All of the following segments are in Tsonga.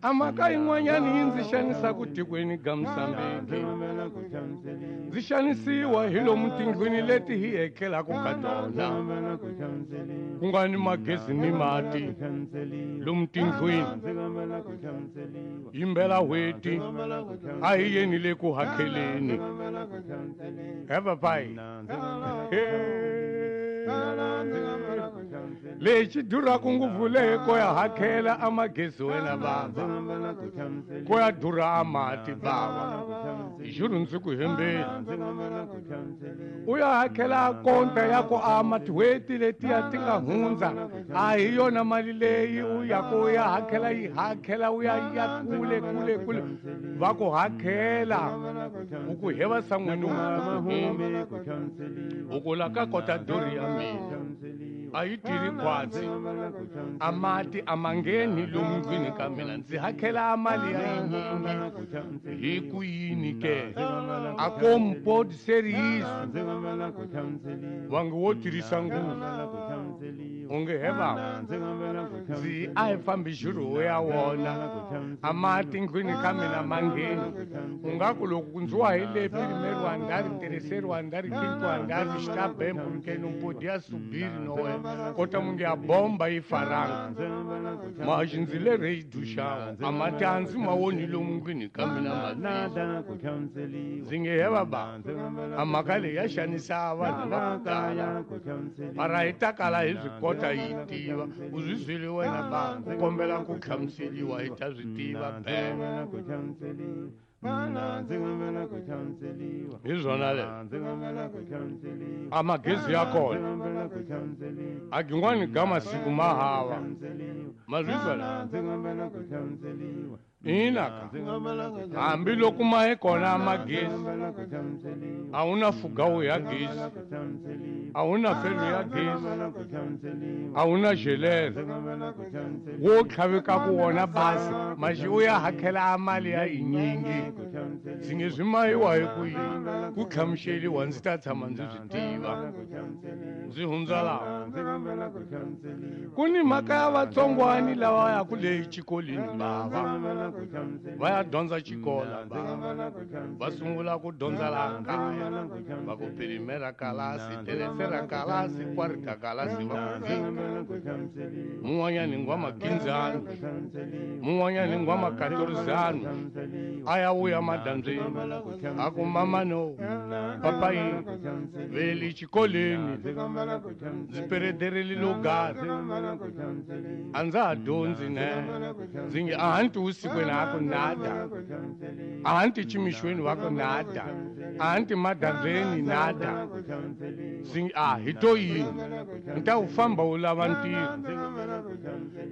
A mhaka yin'wanyana yi ndzi xanisaka tikweni ga Mozambique. Ndzi xanisiwa hi lomu tindlwini leti hi etlelaka ka tona. Ku nga ni magezi ni mati lomu tindlwini. Yimbela hweti a hi yeni le ku hakeleni. He papayi. Lexi duraka ngopfu leyi ko ya hakela a magezi wena bava ko ya durha a mati bava juru ndzi ku hembeni u ya hakela konta ya ku a matihweti letiya ti nga hundza a hi yona mali leyi u ya ku ya hakela yi hakela u ya ya kule kule kule va ku hakela u ku heva san'wini u ku la ka kota dori ya mina a yi tirhi khwatsi a mati a ma ngheni lomu ndlwini ka mina ndzi hakela mali ya yinyingi hi ku yini ke a ko mpodi seriyiso vange wo tirhisa nguvu onge he bava ndzi a hi fambi xirho ya wona a mati ndlwini ka mina ma ngheni u nga ku loko ndzi wa hi le primeiro andar terceiro andar quinto andar está bem porque não podia subir não é kota munge a bomba yi faranga maxi ndzi le rei duxawa a mati a ndzi ma woni lomu ndlwini ka mina mavisi ndzi nge he baba a mhaka leyi ya xanisa vanhu va ku tala mara hi ta kala hi swi kota yi tiva u swi byeli wena ba ku kombela ku hlamuseliwa hi ta swi tiva be hi swona le a magezi ya kona a gin'wani ga masiku ma hava ma swi zwela ina ka hambi loko ma yi kona magezi a wu na fugawu ya gezi a wu na felo ya gezi a wu na xelele wo tlhavekaku wona basi maxi u ya hakela a mali ya yinyingi ndzi nge swi mayiwa hi ku yini ku hlamuseliwa ndzi ta tshama ndzi swi tiva ndzi hundza laha ku ni mhaka ya vatsongwani lava yaku leyi xikolweni bava va ya dyondza xikola bava va sungula ku dyondza laha kaya va ku primera kalasi tercera kalasi quarta kalasi va ku fika mun'wanyani ngwa makinzani mun'wanyani ngwa makatorizani a ya vuya madyambyeni a ku mama no papayi veli xikolweni ndzi peredereli lugari a ndza ha dyondzi ne ndzi nge a hanti vusikwini a ku nada a hanti ximixweni wa ku nada a hanti madyambyeni nada ndzi nge a hi to yini ni ta wu famba wu lava ntirho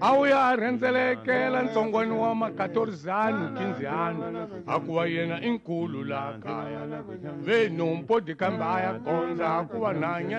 a wu ya a rhendzelekela ntsongwani wa makatorizani kinzihani a ku va yena i nkulu laha kaya ve nompodi kambe a ya gondza a ku va nanya.